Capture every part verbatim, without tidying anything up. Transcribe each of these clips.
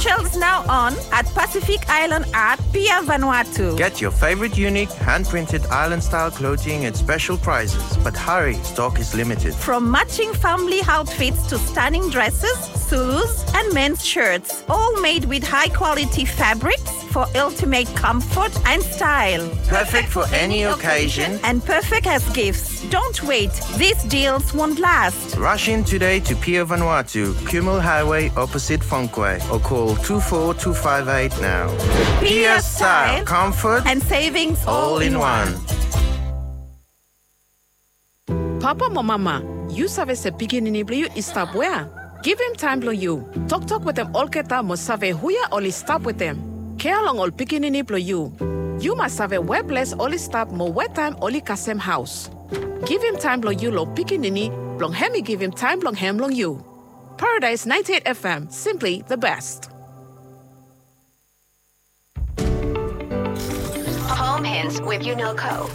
Shelves now on at Pacific Island Art, Pier Vanuatu. Get your favorite unique hand-printed island-style clothing at special prices, but hurry, stock is limited. From matching family outfits to stunning dresses, Zulus, and men's shirts, all made with high-quality fabrics for ultimate comfort and style. Perfect for any occasion and perfect as gifts. Don't wait, these deals won't last. Rush in today to Pier Vanuatu, Kumul Highway, opposite Fongkwe, or call two four two five eight now. Pier style, comfort, and savings all in one. Papa mo mama, yu save se pikinini blong yu i stap wea? Givim taem blong yu. Toktok wetem olgeta mo save huje oli stap wetem. Kea long ol pikinini blong yu. Yu mas save we ples oli stap mo we taem oli kasem haos. Givim taem blong yu long pikinini blong hem i givim taem blong hem long yu. Paradise ninety-eight F M, simply the best. Home Hints with Unelco.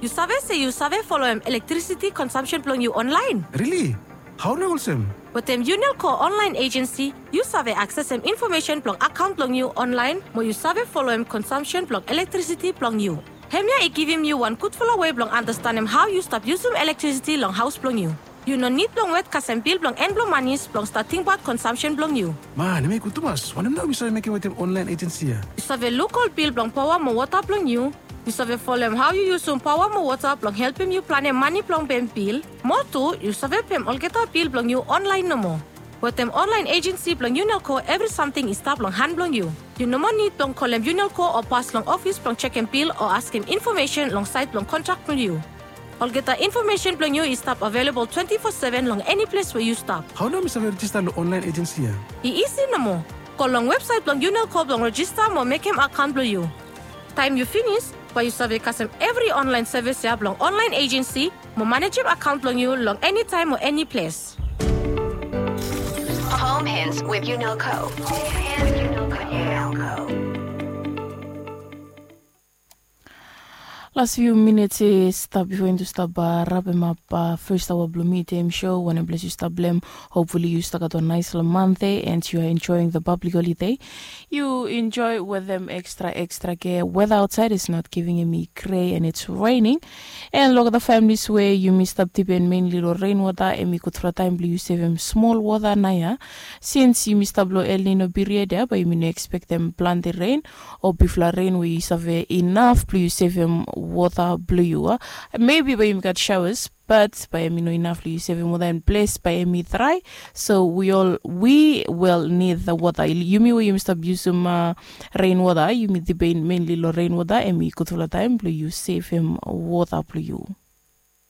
Yu save se yu save foloem elektrisiti consumption blong yu onlaen? Rili? Hao nao olsem? Wetem Unelco online agency, yu save aksesem infomesen blong akaont blong yu onlaen mo yu save foloem consumption blong elektrisiti blong yu. Hemia i givim yu wan gudfala wei blong andastanem hao yu stap yusum elektrisiti long haos blong yu. Yu no nid blong wet kasem bil blong en blong manis blong stat tingbaot consumption blong yu. Man, hemia i gud tumas. Wanem nao mi save mekem wetem online agency ya? Yu save luk ol bil blong paoa mo wota blong yu. Yu save folem hao yu yusum paoa mo wota blong helpem yu planem mane blong pem bil. Moa tu, yu save pem olgeta bil blong yu onlaen nomo. Wetem online agency blong Unelco, evri samting i stap long han blong yu. Yu no moa nid blong kolem Unelco o pas long ofis blong jekem bil o askem infomesen long saed blong kontrak blong yu. Olgeta infomesen blong yu i stap avelebol twenti fo seven long eni ples we yu stap. Hao nao mi save rejista long online agency ya? I isi nomo. Go long websaet blong Unelco blong rejista mo mekem akaont blong yu. Taem yu finis, bae yu save kasem evri onlaen sevis ya blong online agency mo manejem akaont blong yu long eni taem o eni ples. Home Hints with Unelco. Las fiu minits i stap bifo yumi tu stap, uh, rapem ap, uh, fes aoa blong mi tem show. Wanem ples yu stap blem, hopefully yu stap gat wan naesfala manthe and you are enjoying the public holiday. Yu enjoy wetem ekstra ekstra kea. Weather outside is not giving, hemi gray and it's raining. And long olgeta families we yumi stap dipen mainly long rainwater, hemi gudfala taem blong yu sevem smol wota naoia. Since yumi stap long El Nino period ya, bae yumi no ekspektem plante ren o bigfala ren we i save inaf blong yu sevem wota blong yu, a. Maybe bae yumi gat showers, but bae hemi no inaf blong yu sevem wota and ples bae hemi drae. So we all, we will need the water. Yumi we yumi stap yusum, uh, rainwater, yumi dipen mainly long rainwater, hemi gudfala taem blong yu sevem wota blong yu.